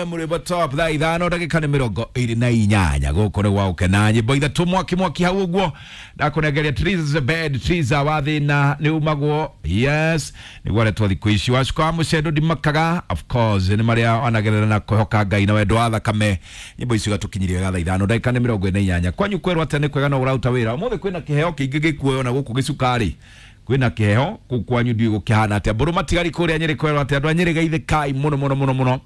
FM River Top thaa 5 ndagĩka nĩ 28 gũkũ nĩ gwa gũkena nyĩmbo ithatũ mwaki mwaki hau ũguo ndakũnengeria Triza bed Triza wa thĩna nĩ umagwo yes nĩguo aretwo thikũ ici wacuka wa mũcendo ndimakaga of course nĩ marĩa wanagerera na kwĩhoka Ngai na wendo wa thakame nyĩmbo icio igatũkinyiria wega thaa 5 ndagĩka nĩ 48 kwanyu kwerwo atĩa nĩ kwega no ũraruta wĩra ũmũthĩ kwĩna kĩheo kĩingĩ gĩkuoyo na gũkũ gĩcukari kwĩna kĩheo kũu kwanyu ndiũĩ gũkĩhana atĩa mbũrũ matigari kũrĩa Nyĩrĩ kwerwo atĩa andũ a Nyĩrĩ geithĩkai mũno mũno mũno mũno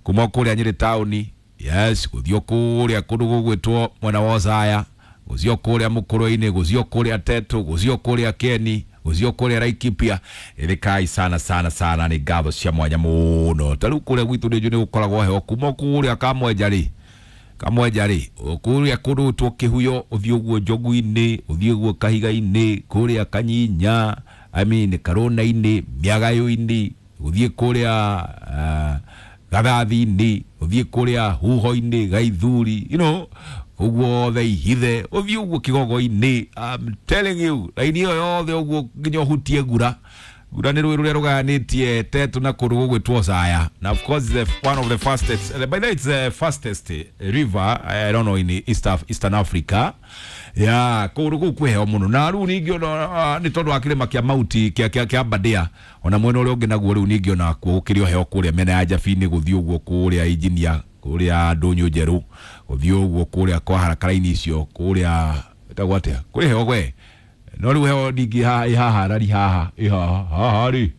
kuma kũrĩa Nyĩrĩ taũni yes gũthiĩ kũrĩa kũndũ gũgwĩtwo mwena wa Othaya gũthiĩ kũrĩa Mũkũrwe-inĩ gũthiĩ kũrĩa Tetu gũthiĩ kũrĩa Keni gũthiĩ kũrĩa Laikipia ĩthĩkai sana sana sana nĩ ngatho cia mwanya mũno ta rĩu kũrĩa gwitũ nĩ njũĩ nĩ gũkoragwo heho kuma kũrĩa Kamwenja rĩ Kamwenja rĩ kũrĩa kũndũ gwĩtwo Kĩhuyo ũthiĩ ũguo Njogu-inĩ ũthiĩ ũguo Kahiga-inĩ kũrĩa Kanyinya I mean Karũna-inĩ Mĩagayũ-inĩ ũthiĩ kũrĩa Gathathi-inĩ ũthiĩ kũrĩa Huho-inĩ Gaithuri you know ũguo othe Ihithe ũthiĩ ũguo Kĩgogo-inĩ I'm telling you raini ĩyo yothe ũguo nginya ũhutie Ngura Ngura nĩ rũĩ rũrĩa rũgayanĩtie Tetu na kũndũ gũgwĩtwo Othaya na of course the one of the fastest by the way it's the fastest river I don't know in Eastern Africa ya kũndũ kũu kwĩ heho mũno na rĩu ningĩ ona nĩ tondũ wa kĩrĩma kĩa Mauti kĩa Aberdare ona mwena ũrĩa ũngĩ naguo rĩu ningĩ ona kuo gũkĩrĩ o heho kũrĩa mĩena ya Njabi-inĩ gũthiĩ ũguo kũrĩa Engineer kũrĩa Ndũnyũ Njerũ gũthiĩ ũguo kũrĩa kwa harakara-inĩ icio kũrĩa ĩtagwo atĩa kũrĩ heho we no rĩu heho ningĩ ĩ haha rari haha ĩ haha haha rĩ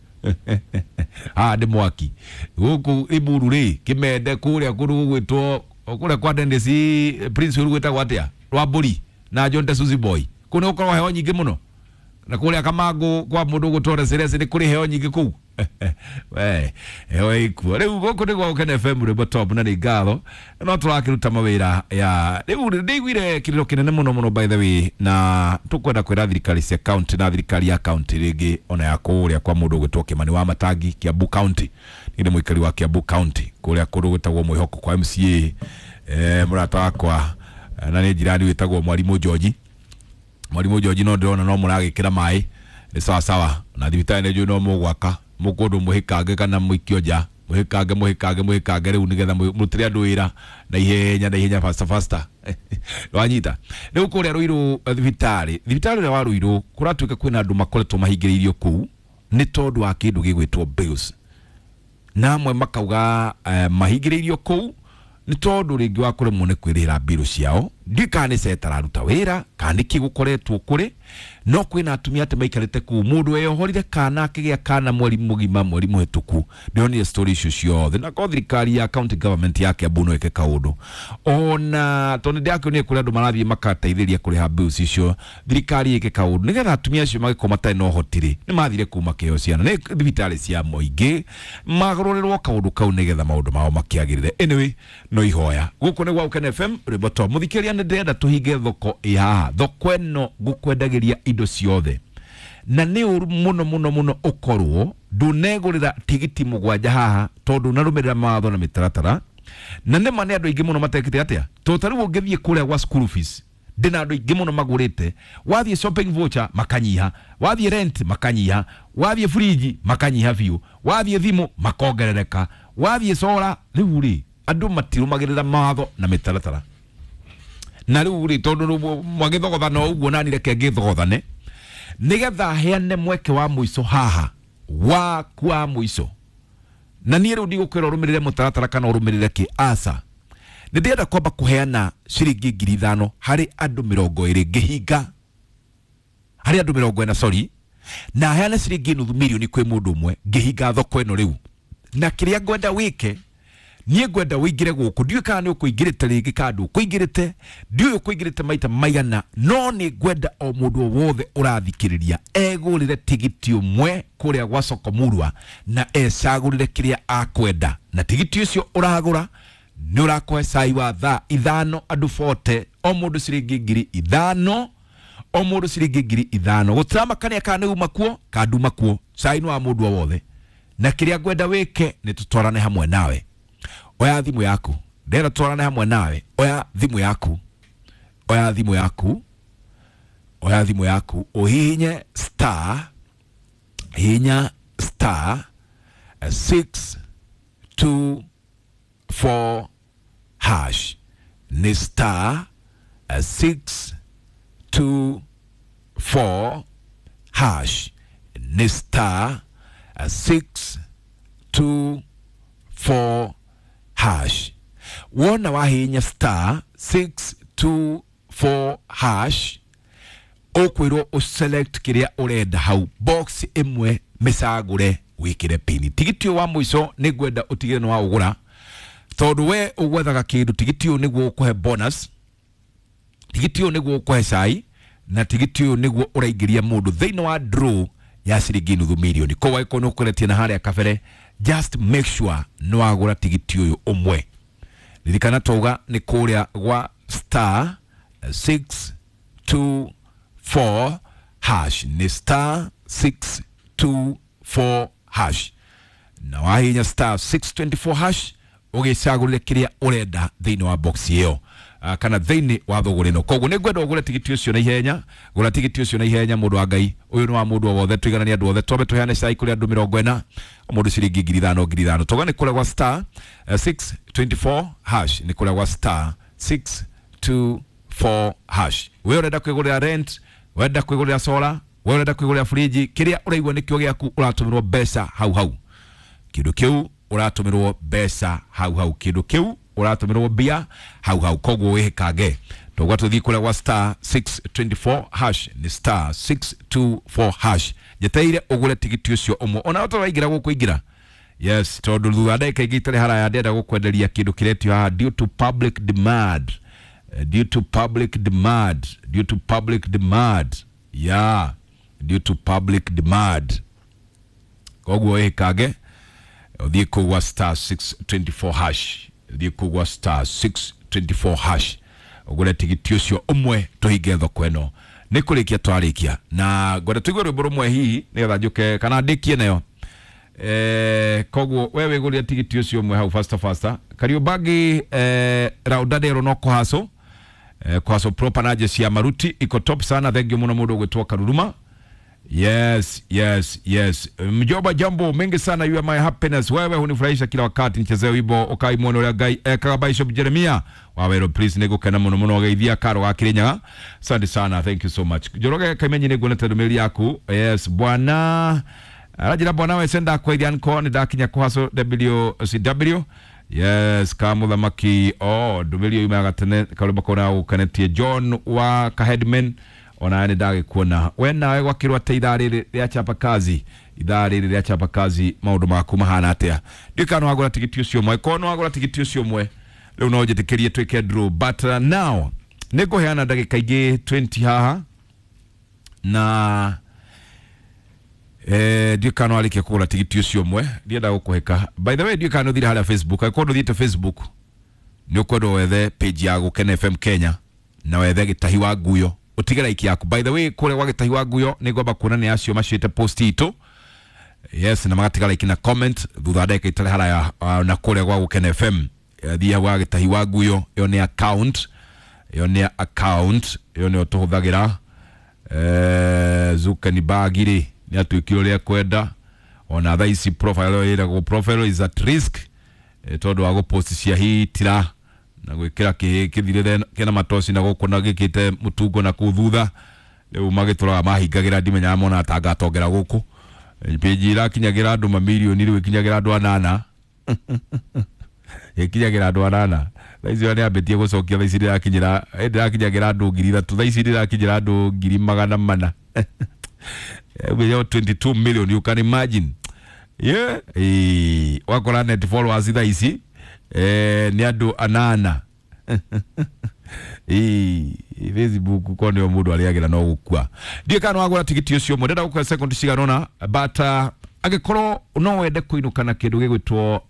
haha nĩ mwaki gũkũ Limuru rĩ Kĩmende kũrĩa kũndũ gũgwĩtwo kũrĩa kwa Dennis Prince ũrĩa gwĩtagwo atĩa Rwambũri na John Tesuzi Boy kũu nĩ gũkoragwo heho nyingĩ mũno na kũrĩa Kamangũ kwa mũndũ ũgwĩtwo Reserese nĩ kũrĩ heho nyingĩ kũu we heho ĩkuo rĩu gũkũ nĩ gwa Gũkena FM Rwĩmbo Top na nĩ ngatho no tũrakĩruta mawĩra ya rĩu ndĩiguire kĩrĩro kĩnene mũno mũno by the way na tũkwenda kwĩra thirikari cia county na thirikari ya county rĩngĩ ona ya kũrĩa kwa mũndũ ũgwĩtwo Kĩmani wa Matangi Kiambu County nĩ mũikari wa Kiambu County kũrĩa kũndũ gwĩtagwo Mwĩhoko kwa MCA mũrata wakwa na nĩ jirani wĩtagwo Mwarimũ George Mwarimũ George no ndĩrona no mũragĩkĩra maĩ nĩ sawa sawa na thibitarĩ nĩ njũĩ no mũgwaka mũkũndũ mũhĩkange kana mũikio nja mũhĩkange mũhĩkange mũhĩkange rĩu nĩgetha mũrutĩre andũ wĩra na ihenya na ihenya faster faster wanyita rĩu kũrĩa Ruiru thibitarĩ thibitarĩ ũrĩa wa Ruiru kũratuĩka kwĩna andũ makoretwo mahingĩrĩirio kũu nĩ tondũ wa kĩndũ gĩgwĩtwo bills na amwe makauga mahingĩrĩirio kũu nĩ tondũ rĩngĩ wa kũremwo nĩ kwĩrĩhĩra mbirũ ciao ndiũĩ kana nĩ ceta araruta wĩra kana nĩkĩ gũkoretwo kũrĩ no kwĩna atumia atĩ maikarĩte kũu mũndũ weyohorire kana akĩgĩa kana mweri mũgima mweri mũhĩtũku ndĩronire story icio ciothe na korwo thirikari ya county government ya Kiambu no ĩke kaũndũ ona tondũ nĩndĩrakĩonire kũrĩ andũ marathiĩ makateithĩrĩria kũrĩha bills icio thirikari ĩke kaũndũ nĩgetha atumia acio magĩkorwo matarĩ na ũhoti rĩ nĩ mathire kũu makĩheo ciana nĩ thibitarĩ cia mũingĩ magarũrĩrwo kaũndũ kau nĩgetha maũndũ mao makĩagĩrĩre anyway no ihoya gũkũ nĩ gwa Gũkena FM Rwĩmbo Top mũthikĩrĩria nĩ ndĩrenda tũhinge thoko ĩ haha thoko ĩno ngũkwendagĩria indo ciothe na nĩ ũru mũno mũno mũno ũkorwo ndũnegũrĩra tigiti mũgwanja haha tondũ ndũnarũmĩrĩra mawatho na mĩtaratara na nĩma nĩ andũ aingĩ mũno matekĩte atĩa tondũ ta rĩu ũngĩthiĩ kũrĩa gwa school fees ndĩna andũ aingĩ mũno magũrĩte wathiĩ shopping voucher makanyiha wathiĩ rent makanyiha wathiĩ fridge makanyiha biũ wathiĩ thimũ makongerereka wathiĩ solar rĩu rĩ andũ matirũmagĩrĩra mawatho na mĩtaratara na rĩu rĩ tondũ mwagĩthogothana o ũguo nani reke ngĩthogothane nĩgetha heane mweke wa mũico haha waku wa mũico na niĩ rĩu ndigũkwĩra ũrũmĩrĩre mũtaratara kana ũrũmĩrĩre kĩ aca nĩ ndĩrenda kwamba kũheana ciringi 5,000 harĩ andũ 20 ngĩhinga harĩ andũ 40 sorry na heane ciringi 500,000 kwĩ mũndũ ũmwe ngĩhinga thoko ĩno rĩu na kĩrĩa ngwenda wĩke niĩ ngwenda wĩingĩre gũkũ ndiũĩ kana nĩ ũkũingĩrĩte rĩngĩ kana ndũkũingĩrĩte ndiũĩ ũkũingĩrĩte maita maigana no nĩ ngwenda o mũndũ o wothe ũrathikĩrĩria egũrĩre tigiti ũmwe kũrĩa gwa Soko Murwa na ecagũrĩre kĩrĩa akwenda na tigiti ũcio ũragũra nĩ ũrakũhe cai wa thaa 5 andũ 40 o mũndũ ciringi 5,000 o mũndũ ciringi 5,000 gũtiramakania kana nĩ uma kuo kana nduma kuo cai nĩ wa mũndũ o wothe na kĩrĩa ngwenda wĩke nĩ tũtwarane hamwe nawe oya thimũ yaku ndĩrenda tũtwarane hamwe nawe oya thimũ yaku oya thimũ yaku oya thimũ yaku ũhihinye star hihinya star 6 2 4 hash, nĩ star 6 2 4 hash, nĩ star 6 2 4 hash. Wona wahinya star 6 2 4 hash, ũkwĩrwo ũselect kĩrĩa ũrenda hau, box ĩmwe mĩcagũre wĩkĩre pini. Tigiti ũyũ wa mũico nĩ ngwenda ũtigĩre nĩ waũgũra, tondũ we ũgwethaga kĩndũ. Tigiti ũyũ nĩguo ũkũhe bonus, tigiti ũyũ nĩguo ũkũhe cai, na tigiti ũyũ nĩguo ũraingĩria mũndũ thĩinĩ wa draw ya ciringi 500,000. Koguo angĩkorwo nĩ ũkoretie na harĩa kabere, just make sure nĩ wagũra tigiti ũyũ ũmwe. Ririkana twauga nĩ kũrĩa gwa star 6 2 4 hash, nĩ star 6 2 4 hash, na wahinya star 624 hash ũgĩcagũrĩre kĩrĩa ũrenda thĩinĩ wa box ĩyo kana thĩinĩ wa thũgũrĩ ĩno. Koguo nĩ ngwenda ũgũre tigiti ũcio na ihenya. Gũra tigiti ũcio na ihenya, mũndũ wa Ngai. Ũyũ nĩ wa mũndũ o wothe, tũigananie andũ othe, twambe tũheane cai kũrĩ andũ 40, mũndũ ciringi 5,000 5,000. Toga nĩ kũrĩa gwa star 624 hash, nĩ kũrĩa gwa star 624 hash. We ũrenda kwĩgũrĩra rent, wenda kwĩgũrĩra solar, we ũrenda kwĩgũrĩra fridge, kĩrĩa ũraigua nĩkĩo gĩaku, ũratũmĩrwo mbeca hau hau. Kĩndũ kĩu ũratũmĩrwo mbeca hau hau, kĩndũ kĩu ũratũmĩrwo mbia hau hau. Koguo wĩhĩkange, togwa tũthiĩ kũrĩa gwa star 624 hash, nĩ star 624 hash. Njeteire ũgũre tigiti ũcio ũmwe ona ũtaraingĩra gũkũ ingĩra. Yes, tondũ thutha wa ndagĩka ingĩ itarĩ haraya ndĩrenda gũkwenderia kĩndũ kĩretio haha due to public demand. Due to public demand, due to public demand, yeah, due to public demand. Koguo wĩhĩkange ũthiĩ kũu gwa star 624 hash, ũthiĩ kũu gwa star 624 hash ũgũre tigiti ũcio ũmwe, tũhinge thoko ĩno. Nĩ kũrĩkia twarĩkia na ngwenda tũigue rwĩmbo rũmwe hihi nĩgetha njũke kana ndĩkie nayo. Koguo we wĩgũrĩre tigiti ũcio ũmwe hau faster faster. Kariũmbangi raundadero no kũhaco kũhaco proper na jeshi ya maruti iko top sana. Thank you mũno mũndũ ũgwĩtwo Karuruma. Yes, yes, yes. Mjomba, jambo mengi sana, you are my happiness. Wewe hunifurahisha kila wakati. Nichezee wimbo ukai muono ũrĩa Ngai ekaga Bishop Jeremia Wawero please. Nĩngũkena mũno mũno geithia Karo wa Kirinyaga. Asante sana, thank you so much. Njoroge Kaimenyi, nĩnguonete ndũmĩrĩri yaku. Yes, bwana aranjĩra bwana wese ndakweithia nko nĩ ndakinya kũhaco WCW. Yes, ka mũthamaki oh ndũmĩrĩri ĩyo yumaga tene karũmba kau gũkenetie John wa Kaheadman, ona nĩ ndagĩkuona we nawe gwakĩrwo atĩ ithaa rĩrĩ rĩa chapa kazi, ithaa rĩrĩ rĩa chapa kazi, maũndũ maku mahana atĩa? Ndiũĩ kana nĩwagũra tigiti ũcio ũmwe. Korwo nĩwagũra tigiti ũcio ũmwe rĩu no njĩtĩkĩrie twĩke draw, but now nĩ ngũheana ndagĩka ingĩ 20 haha na ndiũĩ kana nĩwarĩkia kũgũra tigiti ũcio ũmwe. Ndienda gũkũhĩka. By the way, ndiũĩ kana nĩũthire harĩa Facebook. Angĩkorwo ndũthiĩte Facebook, nĩ ũkwenda wethe page ya Gũkena FM Kenya na wethe Gĩtahi wa Nguyo, ũtige like yaku. By the way, kũrĩa gwa Gĩtahi wa Nguyo nĩ ngwamba kuona nĩ acio maciĩte post itũ, yes, na magatiga like na comment. Thutha wa ndagĩka itarĩ haraya na kũrĩa gwa Gũkena FM, thiĩ hau gwa Gĩtahi wa Nguyo, ĩyo nĩ account, ĩyo nĩ account, ĩyo nĩyo tũhũthagĩra. Zuckerberg rĩ nĩ atuĩkire ũrĩa kwenda ona thaa ici profile ĩyo ĩragwo profile is at risk, tondũ wa gũpost cia hitira na gwĩkĩra kĩhĩ kĩthirĩre kĩna matoci na gũkũ na gĩkĩte mũtungo na kũu thutha. Rĩu magĩtũraga mahingagĩra, ndimenyaga mona tangatongera gũkũ. Page irakinyagĩra andũ mamirioni, rĩu ĩkinyagĩra andũ anana, ĩkinyagĩra andũ anana. Thaa ici nĩ ambĩtie gũcokia, thaa ici ndĩrakinyĩra, ndĩrakinyagĩra andũ 3,000, thaa ici ndĩrakinyĩra andũ 400,000. 22 million, you can imagine. Yeah, wakora net followers thaa ici nĩ andũ anana. Facebook ko nĩo mũndũ arĩagĩra no gũkua. Ndiũĩ kana nĩwagũra tigiti ũcio ũmwe. Ndĩrenda gũkũhe second cigana ũna, but angĩkorwo no wende kũinũka na kĩndũ gĩgwĩtwo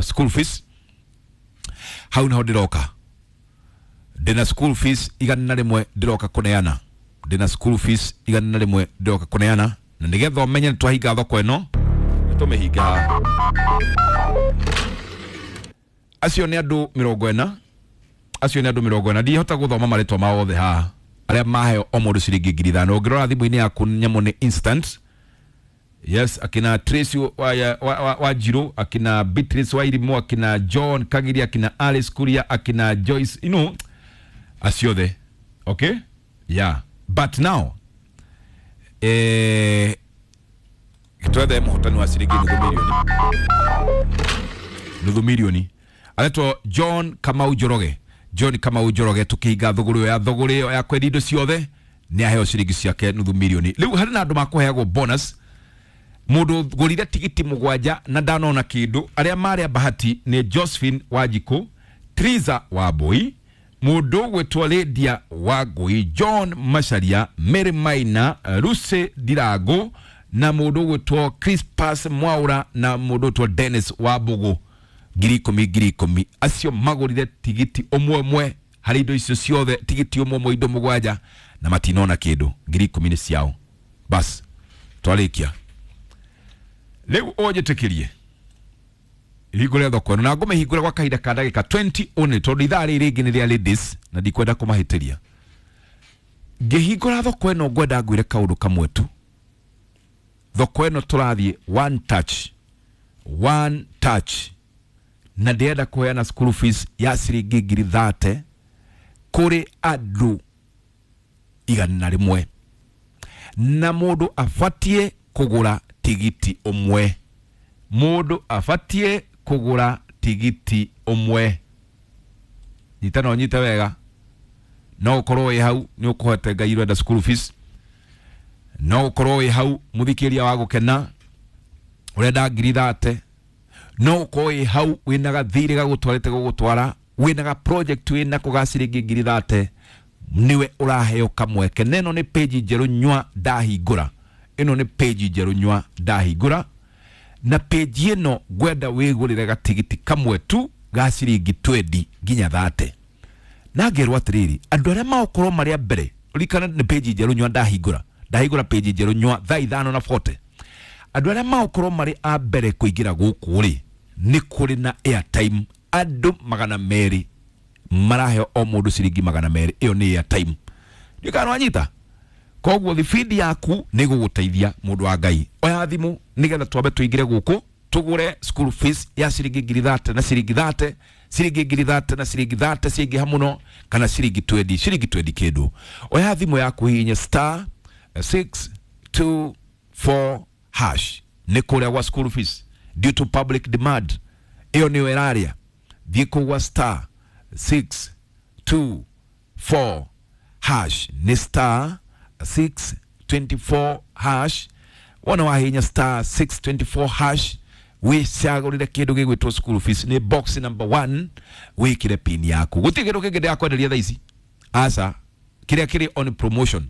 school fees, hau nĩho ndĩroka. Ndĩna school fees 100 ndĩroka kũneana, ndĩna school fees 100 ndĩroka kũneana, na nĩgetha ũmenye nĩ twahinga thoko ĩno, nĩ tũmĩhinga. Acio nĩ andũ 40, acio nĩ andũ 40. Ndihota gũthoma marĩtwa mao othe haha, arĩa maheo o mũndũ ciringi 5,000. Ũngĩrora thimũ-inĩ yaku nyamũ nĩ instant. Yes, akina Tracy wa Njirũ, akina Beatrice wa Irimũ, akina John Kagiri, akina Alice Kuria, akina Joyce, you know, acio othe. Okay, yeah, but now twethe mũhotani wa ciringi nuthu milioni, nuthu milioni, aretwo John Kamau Njoroge. John Kamau Njoroge, tukihinga thũgũrĩ ĩyo ya thũgũrĩ ĩyo ya kwendia indo ciothe, nĩ aheo ciringi ciake nuthu milioni. Rĩu harĩ na andũ makũheagwo bonus. Mũndũ gũrire tigiti mũgwanja na ndanona kĩndũ, arĩa marĩ a bahati nĩ Josephine Wanjikũ, Triza Wambui, mũndũ ũgwĩtwo Lydia Wangui, John Macharia, Mary Maina, Lucy Ndirango, na mũndũ ũgwĩtwo Crispas Mwaura, na mũndũ ũgwĩtwo Dennis Wambugu. 10,000, 10,000. Acio magũrire tigiti ũmwe ũmwe harĩ indo icio ciothe, tigiti ũmwe ũmwe indo mũgwanja, na matinona kĩndũ. 10,000 nĩ ciao. Bas, twarĩkia. Rĩu ũnjĩtĩkĩrie hingũre thoko ĩno, na ngũmĩhingũre gwa kahinda ka ndagĩka 20 only, tondũ ithaa rĩrĩ rĩngĩ nĩ rĩa ladies na ndikwenda kũmahĩtĩria. Ngĩhingũra thoko ĩno ngwenda ngwĩre kaũndũ kamwe tu. Thoko ĩno tũrathiĩ one touch, one touch, na ndĩrenda kũheana school fees ya ciringi 30,000 kũrĩ andũ 100, na mũndũ abatie kũgũra tigiti ũmwe. Mũndũ abatie kũgũra tigiti ũmwe. Nyita na ũnyite wega. No ũkorwo wĩ hau nĩ ũkũhete Ngai ũrenda school fees, no ũkorwo wĩ hau mũthikĩria wa gũkena ũrenda 30,000, no ũkorwo wĩ hau wĩna gathirĩ gagũtwarĩte gũgũtwara, wĩna ga project wĩnako ga ciringi 30,000, niwe ũraheo kamweke. Na ĩno nĩ page njerũ nywa ndahingũra, ĩno nĩ page njerũ nywa ndahingũra, na page ĩno ngwenda wĩgũrĩre gatigiti kamwe tu ga ciringi 20 nginya 30. Na ngerwo atĩrĩrĩ, andũ arĩa magũkorwo marĩ a mbere, ririkana nĩ page njerũ nywa ndahingũra, ndahingũra page njerũ nywa thaa ithano na 40. Andũ arĩa magũkorwo marĩ a mbere kũingĩra gũkũ rĩ, nĩ kũrĩ na airtime andũ 200 maraheo o mũndũ ciringi 200. Ĩyo nĩ airtime. Ndiũĩ kana nĩwanyita. Koguo thibindi yaku nĩ gũgũteithia mũndũ wa Ngai. Oya thimũ nĩgetha twambe tũingĩre gũkũ tũgũre school fees ya ciringi 30,000 na ciringi 30, ciringi 30,000 na ciringi 30 ciingĩha mũno, kana ciringi 20, ciringi 20 kĩndũ. Oya thimũ yaku hihinye star 624 hash, nĩ kũrĩa gwa school fees due to public demand, ĩyo nĩyo ĩraria. Thiĩ kũu gwa star 624 hash, nĩ star 624 hash. Wona wahinya star 624 hash, wĩcagũrĩre kĩndũ gĩgwĩtwo school fees, nĩ box number 1, wĩkĩre pin yaku. Gũtirĩ kĩndũ kĩngĩ ndĩrakwenderia thaa ici, aca. Kĩrĩa kĩrĩ on promotion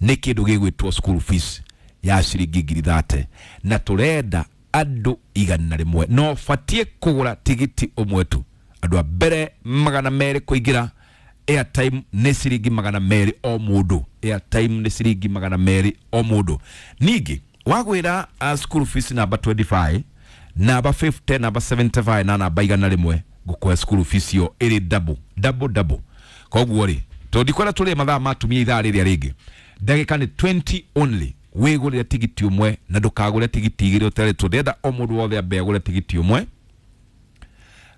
nĩ kĩndũ gĩgwĩtwo school fees ya ciringi 30,000, na tũrenda andũ 100. No batie kũgũra tigiti ũmwe tu. Andũ a mbere 200 kũingĩra, airtime nĩ ciringi 200 o mũndũ, airtime nĩ ciringi 200 o mũndũ. Ningĩ wagwĩra school fees namba 25, namba 50, namba 75 na namba 100, ngũkũhe school fees ĩyo ĩrĩ double double double. Koguo rĩ, tondũ ndikwenda tũrĩe mathaa ma atumia ithaa rĩrĩa rĩngĩ, ndagĩka nĩ 20 only, wĩgũrĩre tigiti ũmwe na ndũkagũre tigiti igĩrĩ ũtarĩtwo. Ndĩrenda o mũndũ wothe ambe agũre tigiti ũmwe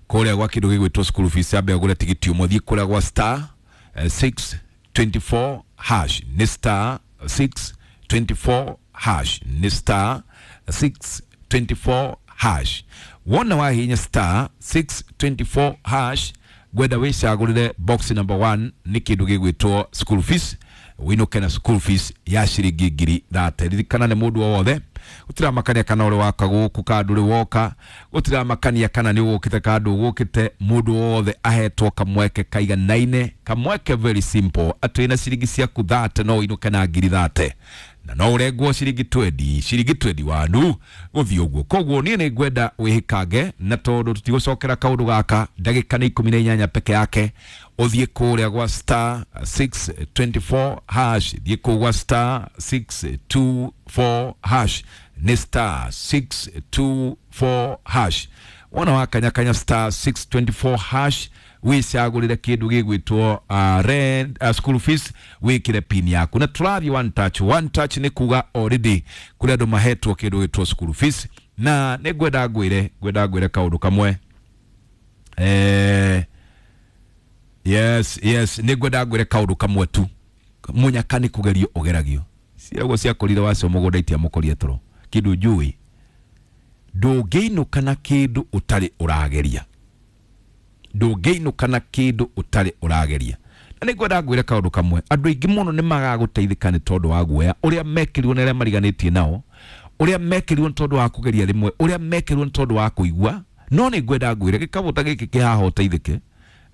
kũrĩa gwa kĩndũ gĩgwĩtwo school fees, ambe agũre tigiti ũmwe. Thiĩ kũrĩa gwa star 624 hash, nĩ star 624 hash, nĩ star 624 hash. Wona wahinya star 624 hash, ngwenda wĩcagũrĩre box number 1, nĩ kĩndũ gĩgwĩtwo school fees, wĩinũke na school fees ya ciringi 30,000. Ririkana nĩ mũndũ o wothe, gũtiramakania kana ũrĩ waka gũkũ kana ndũrĩ woka, gũtiramakania kana nĩ ũgũkĩte kana ndũgũkĩte, mũndũ wothe ahetwo kamweke kaiganaine, kamweke very simple, atĩ wĩna ciringi ciaku 30 no ũinũke na 30,000, na no ũrengwo ciringi 20, ciringi 20 wanu gũthiĩ ũguo. Koguo niĩ nĩ ngwenda wĩhĩkange, na tondũ tũtigũcokera kaũndũ gaka, ndagĩka nĩ 18 peke yake, ũthiĩ kũrĩa gwa star 624 hash, thiĩ kũu gwa star 624 hash, nĩ star 624 hash. Wona wakanyakanya star 624 hash wicagũrĩre kĩndũ gĩgwĩtwo rent, school fees, wĩkĩre pin yaku na tũrathiĩ one touch. One touch nĩ kuga already kũrĩ andũ mahetwo kĩndũ gĩtwo school fees, na nĩ ngwenda ngwĩre, ngwenda ngwĩre kaũndũ kamwe. Yes, yes, nĩ ngwenda ngwĩre kaũndũ kamwe tu. Mũnyaka nĩ kũgerio ũgeragio, ciaguo ciakorire wacio mũgũnda itiamũkorie toro. Kĩndũ njũĩ, ndũngĩinũka na kĩndũ ũtarĩ ũrageria, ndũngĩinũka na kĩndũ ũtarĩ ũrageria. Na nĩ ngwenda ngwĩre kaũndũ kamwe, andũ aingĩ mũno nĩ magagũteithĩka nĩ tondũ wa guoya ũrĩa mekĩrirwo nĩ arĩa mariganĩtie nao, ũrĩa mekĩrirwo nĩ tondũ wa kũgeria rĩmwe, ũrĩa mekĩrirwo nĩ tondũ wa kũigua. No nĩ ngwenda ngwĩre gĩkabũ ta gĩkĩ kĩ haha ũteithĩke,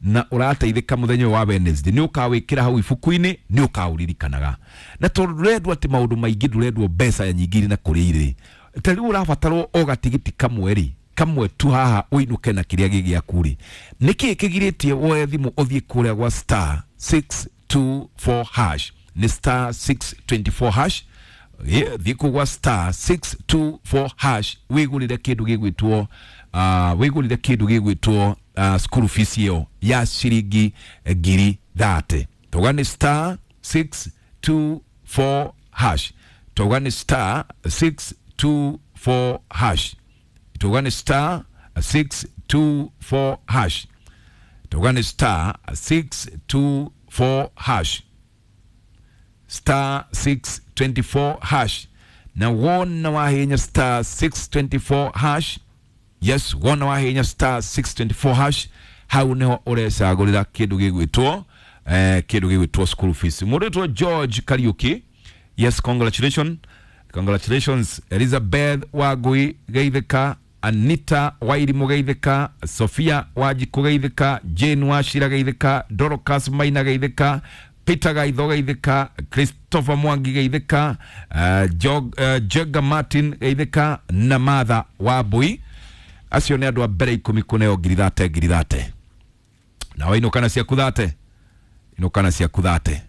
na ũrateithĩka mũthenya ũyũ wa Wednesday, nĩ ũkawĩkĩra hau ibuku-inĩ, nĩ ũkaũririkanaga. Na tondũ ndũrendwo atĩ maũndũ maingĩ, ndũrendwo mbeca nyingĩ irĩ na kũrĩa irĩ, ta rĩu ũrabatarwo o gatigiti kamwe rĩ, kamwe tu haha ũinũke na kĩrĩa gĩ gĩaku rĩ, nĩkĩĩ kĩgirĩtie woe thimũ ũthiĩ kũrĩa gwa star 624 hash? Nĩ star 624 hash. Thiĩ kũu gwa star 624 hash wĩgũrĩre kĩndũ gĩgwĩtwo wĩgũrĩre kĩndũ gĩgwĩtwo school fees ĩyo ya ciringi 30,000. Tauga nĩ star 624 hash, tauga nĩ star 624 hash, tauga nĩ star 624 hash, tauga nĩ star 624 hash, star 624 hash. Na wona wahenya star 624 hash, yes, wona wahenya star 624 hash, hau niho ũrecagũrĩra kĩndũ gĩgwĩtwo kĩndũ gĩgwĩtwo school fees. Mũndũ wĩtwo George Kariuki, yes, congratulations, congratulations. Elizabeth Wangui geithĩka, Anita Wairimu geithĩka, Sophia Wanjikũ geithĩka, Jane Wachira geithĩka, Dorcas Maina geithĩka, Peter Gaitho geithĩka, Christopher Mwangi geithĩka, Jega Martin geithĩka, na Martha Wambui. Acio nĩ andũ a mbere 10 kũneo 30,000 30,000. Nawe inũkana ciaku 30, inũkana ciaku 30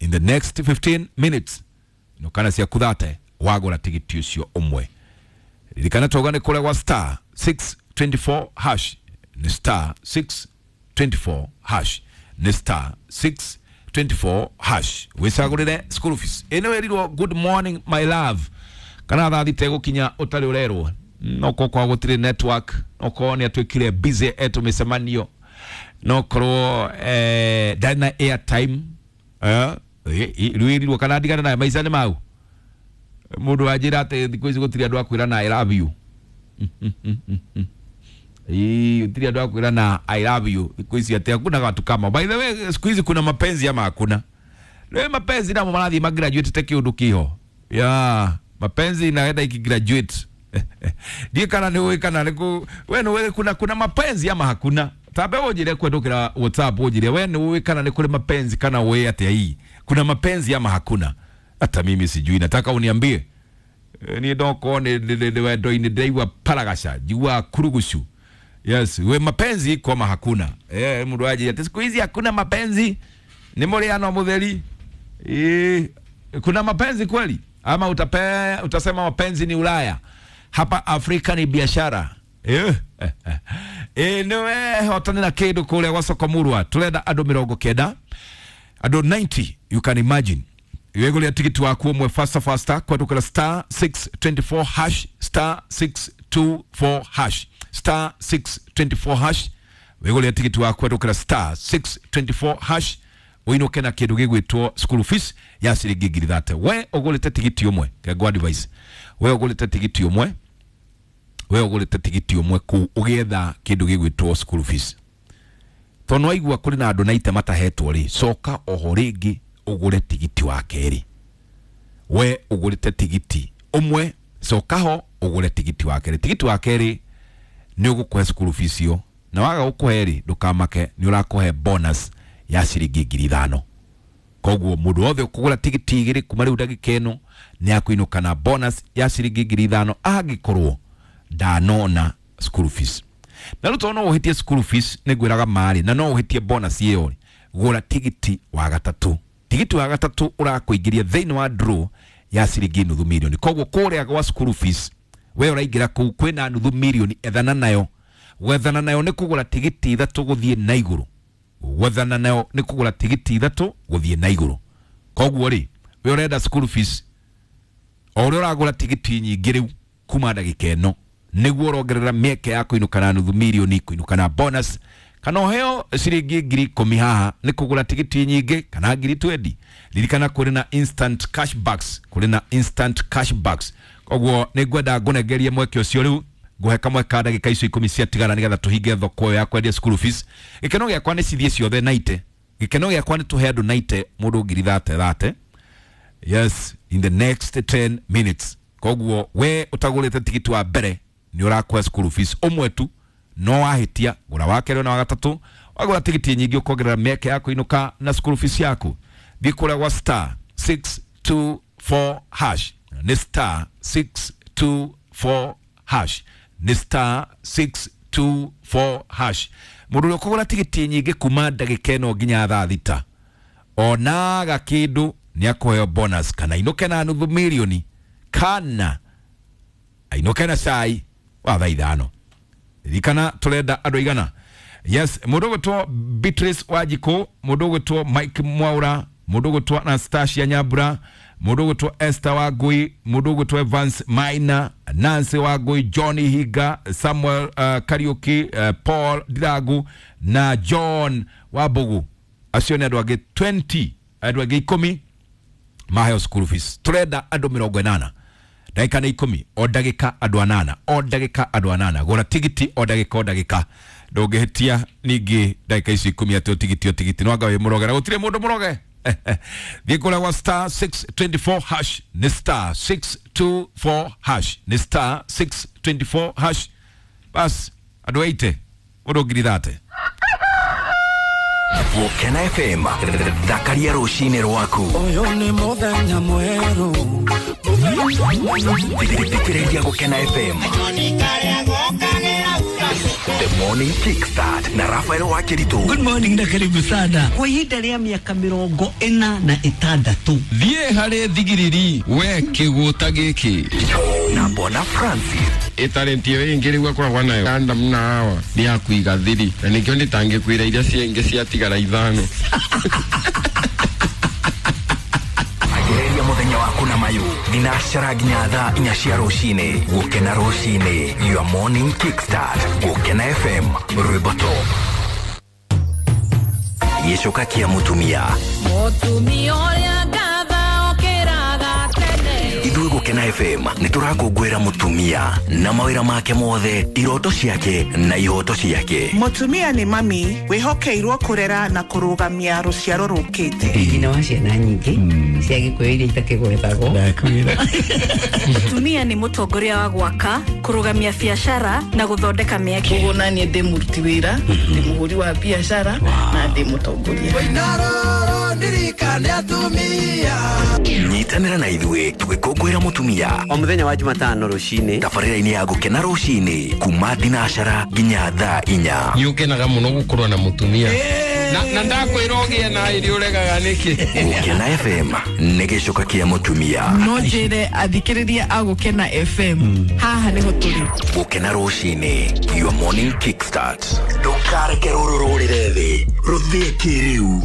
in the next 15 minutes, inũkana ciaku 30 wagũra tigiti ũcio ũmwe. Ririkana tauga nĩ kũrĩa gwa star 624 hash, nĩ star 624 hash, nĩ star 624 hash wĩcagũrĩre school fees. Ĩno ĩrirwo good morning my love, kana thaa thita ĩgũkinya ũtarĩ ũrerwo, no korwo kwa gũtirĩ network, no korwo nĩ atuĩkire busy etwo mĩcemanio, no korwo ndarĩ na airtime, rĩu ĩrirwo kana ndigane nayo maica nĩ mau. Mũndũ wanjĩra atĩ thikũ ici gũtirĩ andũ a kwĩra na I love you. Ii, gũtirĩ andũ a kwĩra na I love you thikũ ici, atĩ hakuna watu kama. By the way, siku hizi kuna mapenzi ama hakuna? Rĩu mapenzi namo marathiĩ magraduate te kĩũndũ kĩho ya mapenzi inaenda ikigraduate. Ndiĩ kana nĩ ũĩ kana nĩ kũ we nĩ ũĩ kuna mapenzi ama hakuna? Tambe ũnjĩre kwendũkĩra WhatsApp, ũnjĩre we nĩ ũĩ kana nĩ kũrĩ mapenzi kana ũĩ atĩa hii kuna mapenzi ama hakuna? Hata mimi sijui, nataka uniambie. Niĩ ndokorwo nĩ wendo-inĩ ndĩraigua paragaca, njiguaga kurugucu. Yes, we mapenzi iko ama hakuna? Mũndũ anjĩra atĩ siku hizi hakuna mapenzi, nĩ mũrĩano mũtheri. Kuna mapenzi kweli ama utasema mapenzi ni Ulaya, hapa Afrika ni biashara? Niwe hotane na kĩndũ kũrĩa gwa soko murwa, tũrenda andũ 90, andũ 90, you can imagine. Wĩgũrĩre tigiti waku ũmwe faster faster kwendũkĩra star 624 hash, star 624 hash, star 624 hash. Wĩgũrĩre tigiti waku kwendũkĩra star 624 hash ũinũke na kĩndũ gĩgwĩtwo school fees ya ciringi 30,000. We ũgũrĩte tigiti ũmwe, kengwa advice, we ũgũrĩte tigiti ũmwe, we ũgũrĩte tigiti ũmwe kũu ũgĩetha kĩndũ gĩgwĩtwo school fees, tondũ waigua kũrĩ na andũ 90 matahetwo rĩ, coka oho rĩngĩ ũgũre tigiti wa kerĩ. We ũgũrĩte tigiti ũmwe, coka ho ũgũre tigiti wa kerĩ. Tigiti wa kerĩ nĩ ũgũkũhe school fees ĩyo, na waga gũkũhe rĩ, ndũkamake, nĩ ũrakũhe bonus ya ciringi 5,000. Koguo mũndũ wothe ũkũgũra tigiti 2 kuma rĩu ndagĩka ĩno nĩ akũinũka na bonus ya ciringi 5,000 angĩkorwo ndanona school fees. Na rĩu tondũ no ũhĩtie school fees, nĩ ngwĩraga marĩ, na no ũhĩtie bonus ĩyo rĩ, gũra tigiti wa gatatũ. Tigiti wa gatatũ ũrakũingĩria thĩinĩ wa draw ya ciringi 500,000. Koguo kũrĩa gwa school fees we ũraingĩra kũu kwĩna 500,000, ethana nayo. Gwethana nayo nĩ kũgũra tigiti 3 gũthiĩ na igũrũ. Gwethana nayo nĩ kũgũra tigiti 3 gũthiĩ na igũrũ. Koguo rĩ, we ũrenda school fees, o ũrĩa ũragũra tigiti nyingĩ rĩu kuma ndagĩka ĩno nĩguo ũrongerera mĩeke ya kũinũka na nuthu mirioni, kũinũka na bonus, kana ũheo ciringi 10,000 haha nĩ kũgũra tigiti nyingĩ kana 20,000. Ririkana kũrĩ na instant cashbacks, kũrĩ na instant cashbacks. Koguo nĩ ngwenda ngũnengerie mweke ũcio rĩu, ngũhe kamwe ka ndagĩka icio 10 ciatigara nĩgetha tũhinge thoko ĩyo ya kwendia school fees. Gĩkeno gĩakwa nĩ cithiĩ ciothe naite. Gĩkeno gĩakwa nĩ tũhe andũ naite mũndũ 30,000. Yes, in the next 10 minutes. Koguo we ũtagũrĩte tigiti wa mbere nĩ ũrakũhe school fees ũmwe tu, no wahĩtia gũra wa kerĩ na wa gatatũ, wagũra tigiti nyingĩ ũkongerera mĩeke ya kũinũka na school fees yaku. Thiĩ kũrĩa gwa star 624 hash, nĩ star 624 hash, nĩ star 624 hash. Mũndũ ũrĩa ũkũgũra tigiti nyingĩ kuma ndagĩka ĩno nginya thaa 6 onaga kĩndũ nĩ akũheo bonus, kana ainũke na nuthu mirioni, kana ainũke na cai wa thaa 5. Ririkana tũrenda andũ aigana. Yes, mũndũ ũgwĩtwo Beatrice Wanjikũ, mũndũ ũgwĩtwo Mike Mwaura, mũndũ ũgwĩtwo Anastasia Nyambura, mũndũ ũgwĩtwo Esther Wangui, mũndũ ũgwĩtwo Evans Maina, Nancy Wangui, Johnny Higa, Samuel Kariuki, Paul Ndirangu na John Wambugu. Acio nĩ andũ angĩ 20, andũ angĩ 10 maheo school fees. Tũrenda andũ 80. Ndagĩka nĩ 10, o ndagĩka andũ 8, o ndagĩka andũ 8. Gũra tigiti o ndagĩka o ndagĩka. Ndũngĩhĩtia ningĩ ndagĩka icio 10 atĩ o tigiti o tigiti. No anga wĩ mũroge, na gũtirĩ mũndũ mũroge. Thiĩ kũrĩa gwa star 624 hash, nĩ star 624 hash, nĩ star 624 hash. Bas, andũ 80, mũndũ 30,000. Gũkena FM, thakaria rũcinĩ rwaku. Ũyũ nĩ mũthenya mwerũ. Thikĩrĩria Gũkena FM. The Morning Kickstart na Rafael Wakiritu. Good morning na karibu sana. Kwa ihinda rĩa mĩaka 46. Thiĩ harĩ thigiriri we kĩgũta gĩkĩ. Na Bwana Francis. Ĩtalenti ĩyo ĩngĩ rĩu akoragwo nayo Adam na Hawa nĩ ya kũiga thiri, na nĩkĩo ndĩtangĩkwĩra iria ciengĩ ciatigara 5. Ambĩrĩria mũthenya waku na mayũ thinacara nginya thaa 4 cia rũcinĩ. Gũkena rũcinĩ, your morning kickstart. Gũkena FM, rwĩmbo top. Gĩcoka kĩa mũtumia. Mũtumia ũrĩa ngatha okĩraga tene. Ithuĩ Gũkena FM nĩ tũrakũngũĩra mũtumia na mawĩra make mothe, iroto ciake na ihoto ciake. Mũtumia nĩ mami wĩhokeirwo kũrera na kũrũgamia rũciaro rũkĩte. Nyina wa ciana nyingĩ cia Gĩkũyũ iria itakĩgwetagwo. Mũtumia nĩ mũtongoria wa gwaka, kũrũgamia biacara na gũthondeka mĩeke. Koguo naniĩ ndĩ mũruti wĩra, ndĩ mũhũri wa biacara na ndĩ mũtongoria. Nyitanĩra na ithuĩ tũgĩkũngũĩra mũtumia o mũthenya wa Jumatano rũcinĩ, tabarĩra-inĩ ya Gũkena rũcinĩ kuma thinacara nginya thaa 4. Nĩ ũkenaga mũno gũkorwo na mũtumia na ndakwĩra ũgĩe na ĩrĩ ũregaga nĩkĩ. Gũkena FM nĩ gĩcoka kĩa mũtumia. No njĩre athikĩrĩria a Gũkena FM haha nĩho tũrĩ. Gũkena rũcinĩ, your morning kickstart. Ndũkareke rũrũ rũrĩre thĩ, rũthiĩ kĩrĩu.